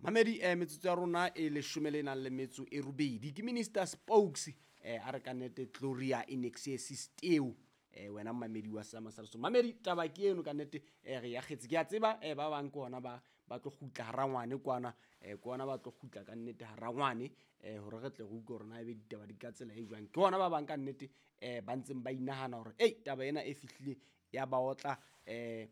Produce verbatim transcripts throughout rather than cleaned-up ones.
Mamedi eh metsotso ya rona e leshome le nang le metso e robedi ke Minister Spokes eh a re ka nnete Gloria Inexes Steo eh wena mamedi wa Sama sa Lesotho. Mamedi taba ke eno ka nnete eh re ya kgetse ke a tseba eh ba bang ke ona ba ba tlo kgutla harangwane kwana eh ke ona ba tlo kgutla ka nnete harangwane eh hore re tle re utlwe hore na ebe ditaba di ka tsela e jwang. Ke ona ba bang ka nnete eh ba ntseng ba inahana hore ei taba ena e fihlile ya ba otla eh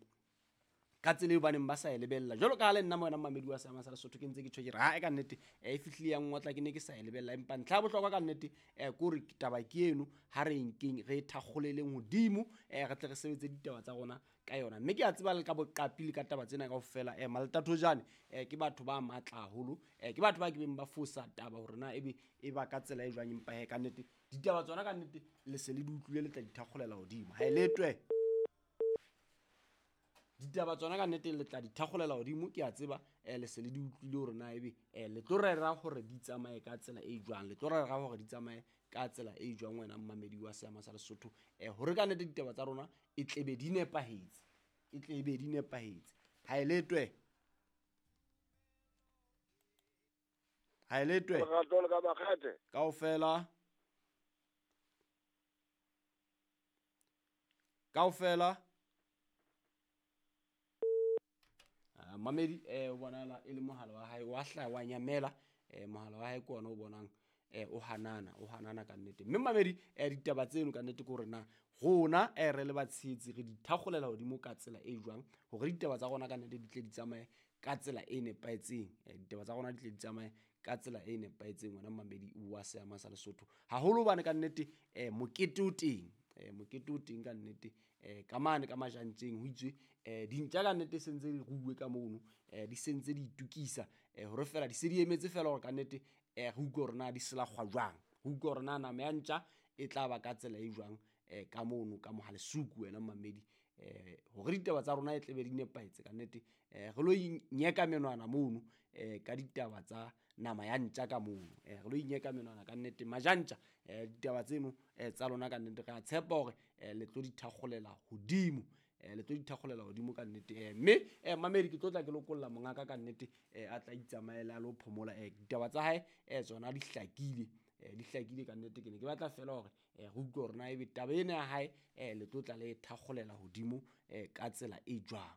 ka tsela eo ba neng ba sa e lebella. Jwalo ka ha le nna wena mamedi wa Sama sa Lesotho ke ntse ke tjho ke re ha e ka nnete e fihlile ya ngotla ke ne ke sa e lebella, empa ntlha ya bohlokwa ka nnete eh ke hore taba ke eno ha re nkeng re thakgoleleng hodimo eh re tle re sebetse ditaba tsa rona ka yona. Mme ke a tseba le ka boqapi le ka taba tsena kaofela eh Maltatojane eh ke batho ba matla haholo eh ke batho ba ke beng ba fosa taba hore na ebe e ba ka tsela e jwang, empa he ka nnete ditaba tsona ka nnete le se le di utlwile le tla di thakgolela hodimo. Ha e letwe ditaba tsona ka nnete le tla di thakgolela hodimo, ke a tseba eh le se le di utlwile hore na ebe eh le tlo rera hore di tsamaye ka tsela e jwang, le tlo rera hore di tsamaye ka tsela e jwang wena mamedi wa Seama sa Lesotho eh hore ka nnete ditaba tsa rona e tlebe di nepahetse, e tlebe di nepahetse. Ha e letwe ha e letwe Lerato le ka makgethe kaofela kaofela. Uh, mamedi eh o bonala e le mohala wa hae wa hla wa nyamela eh mohala wa hae ke ona o bonang eh o hanana o hanana ka nnete. Mme mamedi eh ditaba tseno ka nnete ke hore na rona eh re le batshehetsi re di thakgolela hodimo ka tsela e jwang hore ditaba tsa rona ka nnete di tle di tsamaye ka tsela e nepahetseng eh ditaba tsa rona di tle di tsamaye ka tsela e nepahetseng wena mamedi wa Seama sa Lesotho. Haholo hobane ka nnete eh mokete o teng eh mokete o teng ka nnete eh ka mane ka majantjeng ho itswe eh dintja ka nnete se ntse di ruwe ka mono eh di sentse di itukisa eh hore fela di se di emetse fela hore ka nnete eh re utlwe hore na di selakgwa jwang, re utlwe hore na nama ya ntja e tla ba ka tsela e jwang eh ka mono ka mohalesuku wena mamedi eh hore ditaba tsa rona e tlebe di nepahetse ka nnete eh re lo inyeka menwana mono eh ka ditaba tsa nama ya ntja ka mono eh re lo inyeka menwana ka nnete majantja eh ditaba tseno eh tsa lona ka nnete re a tshepa hore eh le tlo di thakgolela hodimo eh le tlo di thakgolela hodimo ka nnete eh mme eh mamedi ke tlo tla ke lokolla mongaka ka nnete eh a tla itsamaela a lo phomola eh ditaba tsa hae eh tsona di hlakile eh di hlakile ka nnete. Ke ne ke batla fela hore eh re utlwe hore na ebe taba ena ya hae eh le tlo tla le thakgolela hodimo eh ka tsela e jwang.